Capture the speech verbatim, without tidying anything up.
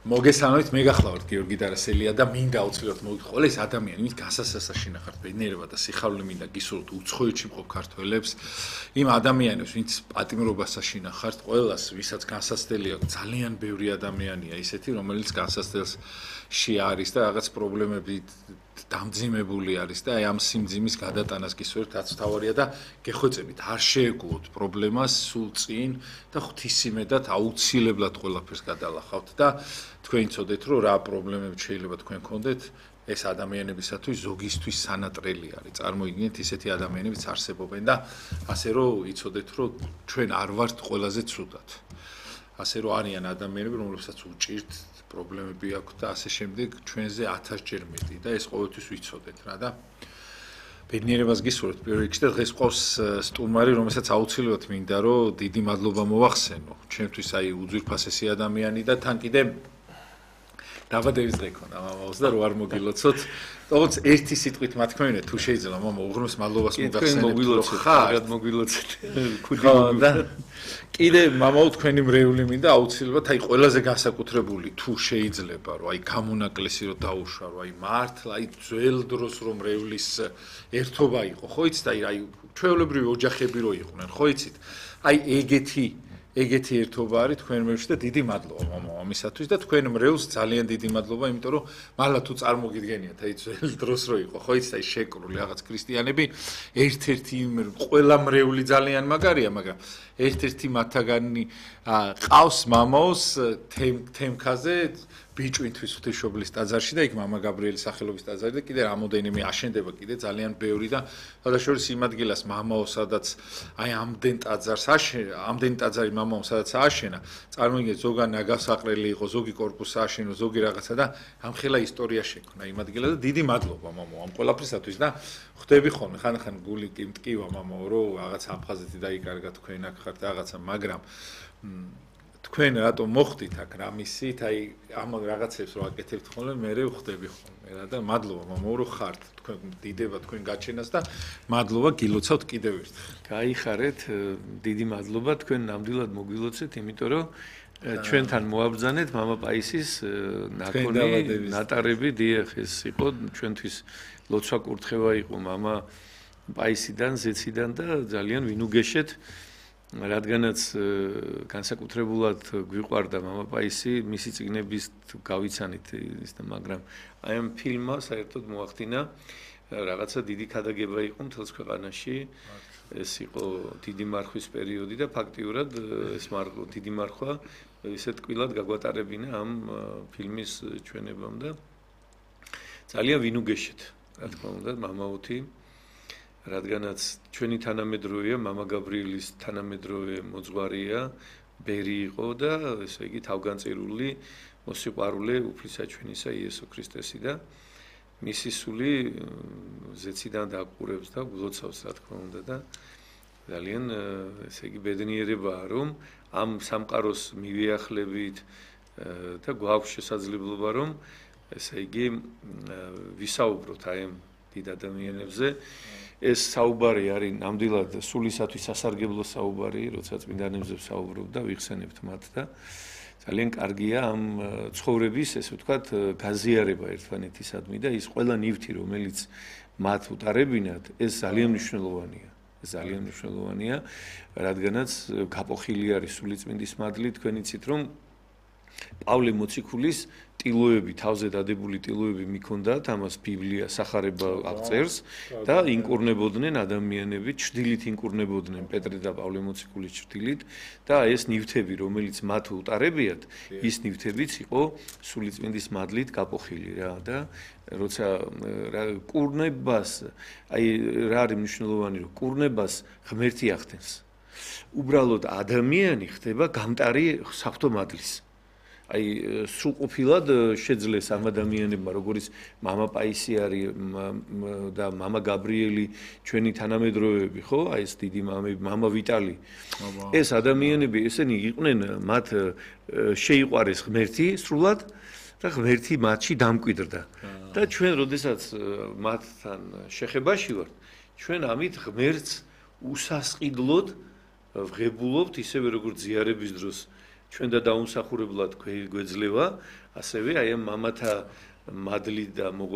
მოგესალმებით, მე გახლავართ გიორგი დარასელია და მინდა აუცილებლად მოვიტყვა ეს ადამიანი, ვინც გასასასა შინახართ ბედნიერება და სიხარული მინდა გისურვოთ უცხოეთში მყოფ ქართველებს, იმ ადამიანებს, ვინც პატიმრობას აშინახართ, ყველას, ვისაც განსაცდელი აქვს, ძალიან ბევრი ადამიანია ისეთი, რომელიც განსაცდელში არის და რაღაც პრობლემები დამძიმებული არის და აი ამ სიმძიმის გადატანას გისურვებთ, რაც თავარია და გეხვეწებით, არ შეეგუოთ პრობლემას სულ წინ და ღვთისმეტად აუცილებლად ყველაფერს გადალახავთ და თქვენ იცოდეთ, რომ რა პრობლემები შეიძლება თქვენ გქონდეთ, ეს ადამიანებისათვის ზოგისთვის სანატრელი არის. წარმოიდგინეთ, ისეთი ადამიანებიც არსებობენ და ასე რომ იცოდეთ, რომ ჩვენ არ ვართ ყველაზე ცუდად. ასე რომ არიან ადამიანები, რომლებსაც უჭირთ პრობლემები აქვთ და ასე შემდეგ ჩვენზე ათასჯერ მეტი და ეს ყოველთვის ვიცოდეთ რა და ბედნიერებას გისურვებთ პირველ რიგში და დღეს ყავს სტუმარი, რომელსაც აუცილებლად მინდა რომ დიდი მადლობა მოვახსენო. ჩვენთვის აი უძვირფასესი ადამიანი და თან კიდე დაბადების დღე ქონდა მამაოს და რო არ მოგილოცოთ. თუმცა ერთი სიტყვით მათ თქვენ თუ შეიძლება მამა უღრმეს მადლობას მოგახსენებთ რომ ხართ მოგილოცეთ. და კიდე მამაო თქვენი მრევლი მინდა აუცილებლად აი ყველაზე განსაკუთრებული თუ შეიძლება რომ აი გამონაკლისი რომ დაუშვა რომ აი მართლა აი ძველ დროს რომ მრევლის ერთობა იყო ხო იცით აი აი ჩვეულებრივი ოჯახები რო იყვნენ ხო იცით აი ეგეთი ეგეთი ერთობა არის თქვენ მრევლში და დიდი მადლობა მამაო ამისათვის და თქვენ მრევლს ძალიან დიდი მადლობა იმიტომ რომ მართლა თუ წარმოგიდგენიათ აი ძველ დროს რო იყო ხო იცით აი შეკრული რაღაც ქრისტიანები ერთ-ერთი ყველა მრევლი ძალიან მაგარია მაგრამ ერთ-ერთი მათაგანი ყავს მამაოს თემქაზე ბიჭვინთვის ღვთისმშობლის ტაძარში და იქ მამა გაბრიელის სახელობის ტაძარი და კიდე რამოდენიმე აშენდება კიდე ძალიან ბევრი და შესაძლოა იმ ადგილას მამაო სადაც აი ამდენ ტაძარს აშენა ამდენ ტაძარი მამაო სადაც ააშენა წარმოიდგინეთ ზოგან ნაგასაყრელი იყო ზოგი კორპუსი ააშენო ზოგი რაღაცა და ამხელა ისტორია შექმნა იმ ადგილას და დიდი მადლობა მამაო ამ ყველაფრისათვის და ხვდები ხოლმე ხან-ხან გული კი მტკივა მამაო რომ რაღაც აფხაზეთი დაიკარგა თქვენ აქ ხართ რაღაცა მაგრამ თქვენ რატომ მოხდით აქ რამისით აი ამ რაღაცებს რო აკეთებთ ხოლმე მე რე ხვდები ხოლმე რა და მადლობა მამაო რომ ხართ თქვენ დიდება თქვენ გაჩენას და მადლობა გილოცავთ კიდევ ერთხელ გაიხარეთ დიდი მადლობა თქვენ ნამდვილად მოგილოცეთ იმიტომ რომ ჩვენთან მოაბრძანეთ მამა პაისის ნაკონი ნატარები დიახ ეს იყო ჩვენთვის ლოცვა კურთხევა იყო მამა პაისიდან ზეციდან და ძალიან ვინუგეშეთ რადგანაც განსაკუთრებულად გვიყვარდა მამა პაისი მისი წიგნების გავიცანით ის და მაგრამ აი ამ ფილმმა საერთოდ მოახდინა რაღაცა დიდი ქადაგება იყო მთელს ქვეყანაში ეს იყო დიდი მარხვის პერიოდი და ფაქტიურად ეს მარხვა დიდი მარხვა ისეთ კვილად გაგვატარებინა ამ ფილმის ჩვენებამ და ძალიან ვინუგეშეთ რა თქმა უნდა მამაოთი რადგანაც ჩვენი თანამედროვეა მამა გაბრიელის თანამედროვე მოძღვარია ბერი იყო და ესე იგი თავგანწირული მოსიყვარულე უფლისაჩვენისა იესო ქრისტესი და მისი სული ზეციდან დაყურებს და გლოცავს რა თქმა უნდა და ძალიან ესე იგი ბედნიერებაა რომ ამ სამყაროს მივიახლებით და გვაქვს შესაძლებლობა რომ ესე იგი ვისაუბროთ აი ამ დიდ ადამიანებზე ეს საუბარი არის ნამდვილად სულისათვის სასარგებლო საუბარი, როცა წმინდანებზე ვსაუბრობ და ვიხსენებთ მათ და ძალიან კარგია ამ ცხოვრების, ესე ვთქვათ, გაზიარება ერთმანეთისადმი და ის ყველა ნივთი, რომელიც მათ უტარებინათ, ეს ძალიან მნიშვნელოვანია. ეს ძალიან მნიშვნელოვანია, რადგანაც გაპოხილი არის სულიწმინდის მადლით, თქვენ იცით რომ პავლე მოციქულის ტილოები, თავზე დადებული ტილოები მიქონდათ, ამას ბიბლია სახარება აღწერს და ინკურნებოდნენ ადამიანები, ჩრდილით ინკურნებოდნენ პეტრე და პავლე მოციქულის ჩრდილით და ეს ნივთები, რომელიც მათ უტარებიათ, ის ნივთებიც იყო სულიწმინდის მადლით გაპოხილი რა და როცა კურნებას, აი რა არის მნიშვნელოვანი, რომ კურნებას ღმერთი ახდენს. უბრალოდ ადამიანი ხდება გამტარი საფრთხო მადლის. აი სრულყოფილად შეძლეს ამ ადამიანებმა როგორც მამა პაისი არის და მამა გაბრიელი ჩვენი თანამედროვეები ხო აი ეს დიდი მამები მამა ვიტალი ეს ადამიანები ესენი იყვნენ მათ შეიყვარეს ღმერთი სრულად და ღმერთი მათში დამკვიდრდა და ჩვენ როდესაც მათთან შეხებაში ვართ ჩვენ ამით ღმერთს უსასყიდლოდ ვღებულობთ ისევე როგორც ზიარების დროს ჩვენ და დაუმსახურებლად გვეძლევა ასევე აი ამ მამათა მადლი და